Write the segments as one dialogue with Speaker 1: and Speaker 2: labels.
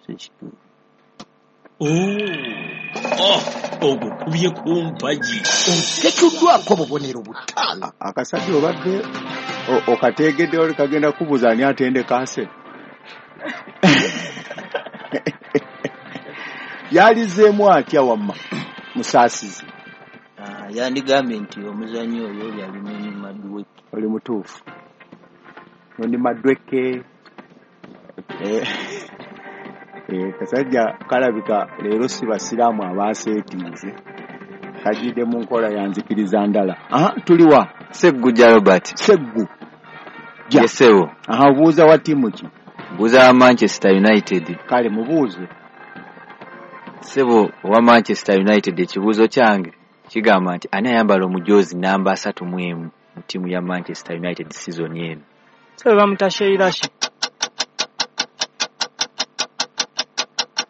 Speaker 1: Ekituufu.
Speaker 2: Ogukubye ku mpagi.
Speaker 3: Oteekeddwako obubonero 5.
Speaker 4: Akasajja obadde okateegedde oli kagenda kubuuza ani atendeka Arsenal. Yalizeemu atya wamma Musaasizi?
Speaker 1: Yandigambye nti omuzannyi oyo yali Noni Madueke.
Speaker 4: Oli mutuufu. Noni Madueke. Kasajja kalabika leero si basiraamu abaaseetiize. Kajjidde mu nkola ya nzikiriza ndala. Tuliwa?
Speaker 5: Ssegujja Robert.
Speaker 4: Sseggu.
Speaker 5: Yesewo.
Speaker 4: Obuuza wa ttiimu ki?
Speaker 5: Mbuuza wa Manchester United.
Speaker 4: Kale mubuuze.
Speaker 5: Ssebo owa Manchester United, ekibuuzo kyange kigamba nti ani ayambala omujoozi namba 31 mu ttiimu ya Manchester United season eno?
Speaker 6: Ssebo bamuyita Sheirashi.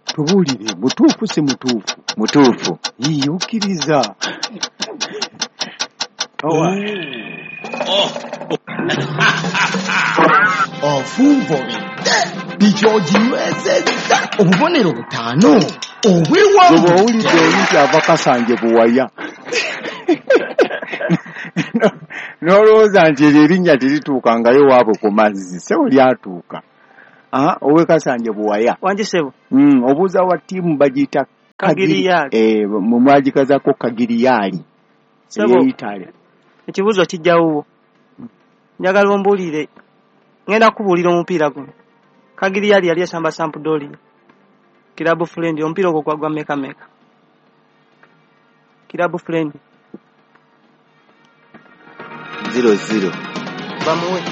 Speaker 4: Tubuulire, mutuufu si mutuufu?
Speaker 5: Mutuufu.
Speaker 4: Yii, okkiriza.
Speaker 3: Ofunvobedde bikyoginywezezza obubonero 5 obwewangulidde.
Speaker 4: Owulidde oli nti ava Kasanje buwaya. N'olowooza nti eryo erinnya terituukangayo waabwe ku mazzi, ssebo lyatuuka. Owe Kasanje buwaya.
Speaker 6: Wangi ssebo.
Speaker 4: Obuuza wa ttiimu bagiyita
Speaker 6: Kagiriyaali.
Speaker 4: Mwe mwagikazaako Kagiriyaali.
Speaker 6: Ssebo,
Speaker 4: Ey'Italy.
Speaker 6: ekibuuzo kijjawuwo. Njagala ombuulire, ngenda kukubuulira omupiira guno. Kagiriyaali yali esamba Sampdoria. Club friend, omupiira ogwo gwagwa meka meka? Club friend.
Speaker 5: 0-0.
Speaker 6: Bamuwe.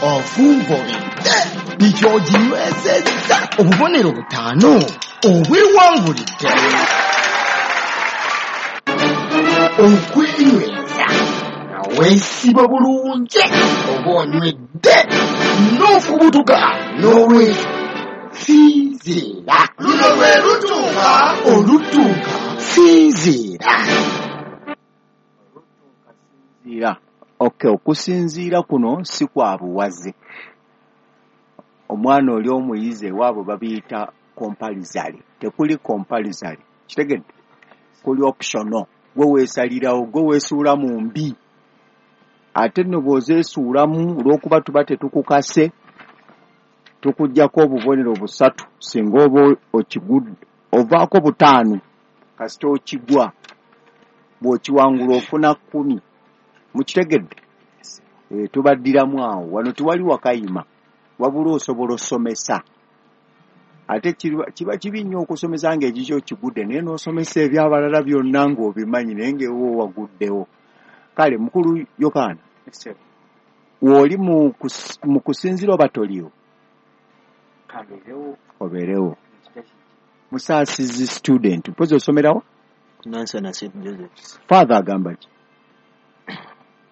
Speaker 3: Ofunvobedde bikyoginywezezza obubonero 5 obwewangulidde. Okwenyweza nga weesiba bulungi oba onywedde n'okubutuka n'olwekyo sinziira. Luno lwe lutuuka olutuuka sinziira.
Speaker 4: Sinziira. Okay, okusinziira kuno si kwa buwaze. Omwana oli omuyizi ewaabwe babiyita compulsory. Tekuli compulsory. Kitegedde? Kuli optional. Gwe weesalirawo, gwe weesuula mu mbi. Ate nno bw'ozeesuulamu olw'okuba tuba tetukukase, tukuggyako obubonero 3 singa oba okigudde, ovaako 5 kasita okigwa. Bw'okiwangula ofuna 10. Mukitegedde? Tubaddiramu awo. Wano tewali wakayima, wabula osobola osomesa. Ate kiba kibi nnyo okusomesa ng'ekikyo okigudde, naye n'osomesa ebyabalala byonna ng'obimanyi naye ng'ewo waguddewo. Kale mukulu Yokaana, w'oli mu kusinziira oba toliiwo? Obeerewo. Musaasizi student, mpozi osomerawo?
Speaker 1: Nansana St. Joseph's.
Speaker 4: Father agamba ki?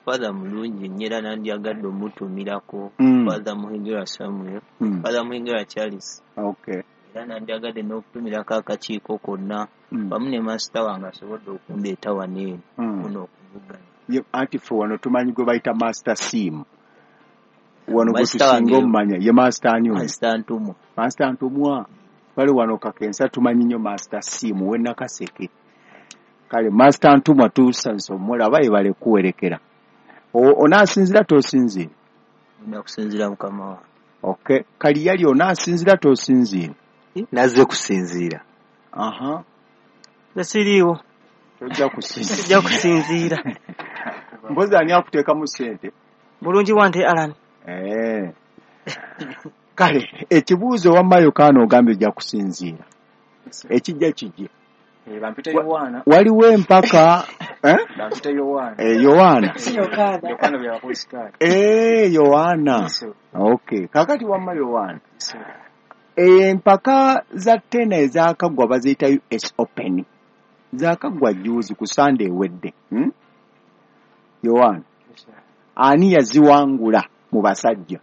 Speaker 1: Father mulungi nnyo era nandyagadde omutuumirako. Father Muhigirwa Samuel, Father Muhigirwa Charles.
Speaker 4: Okay.
Speaker 1: Era nandyagadde n'okutumirako akakiiko konna wamu ne master wange asobodde okundeeta wano eno kuno okuvuganya.
Speaker 4: Anti ffe wano tumanyi gwe bayita Master Sim. Wano gwe tusinga omumanya ye Master ani oyo?
Speaker 1: Master Ntumwa.
Speaker 4: Master Ntumwa. Kale wano Kakensa tumanyi nnyo Master Sim w'e Nakaseke. Kale Master Ntumwa tusanyuse omulaba yebale kuwerekera. Onaasinziira tosinziira?
Speaker 1: Ngenda kusinziira mukama wange.
Speaker 4: Okay. Kaliyali onaasinziira tosinziira?
Speaker 5: Nazze kusinziira.
Speaker 6: Nze siriiwo.
Speaker 4: Tojja kusinziira.
Speaker 6: Sijja kusinziira.
Speaker 4: Mpozi ani akuteekamu ssente?
Speaker 6: Bulungi wante Alan.
Speaker 4: Kale ekibuuzo wamma Yokaana ogambye ojja kusinziira. Ekijja kijje.
Speaker 7: Bampita Yowaana.
Speaker 4: Waliwo empaka,
Speaker 7: Bampita Yowaana.
Speaker 4: Yowaana.
Speaker 7: Si Yokaana. Yokaana bya Bakristaayo.
Speaker 4: Yowaana. Okay. Kaakati wamma Yowaana. Empaka za tena ezaakaggwa baziyita US Open. Zaakaggwa jjuuzi ku Sunday ewedde. Yowaana. Ani yaziwangula mu basajja?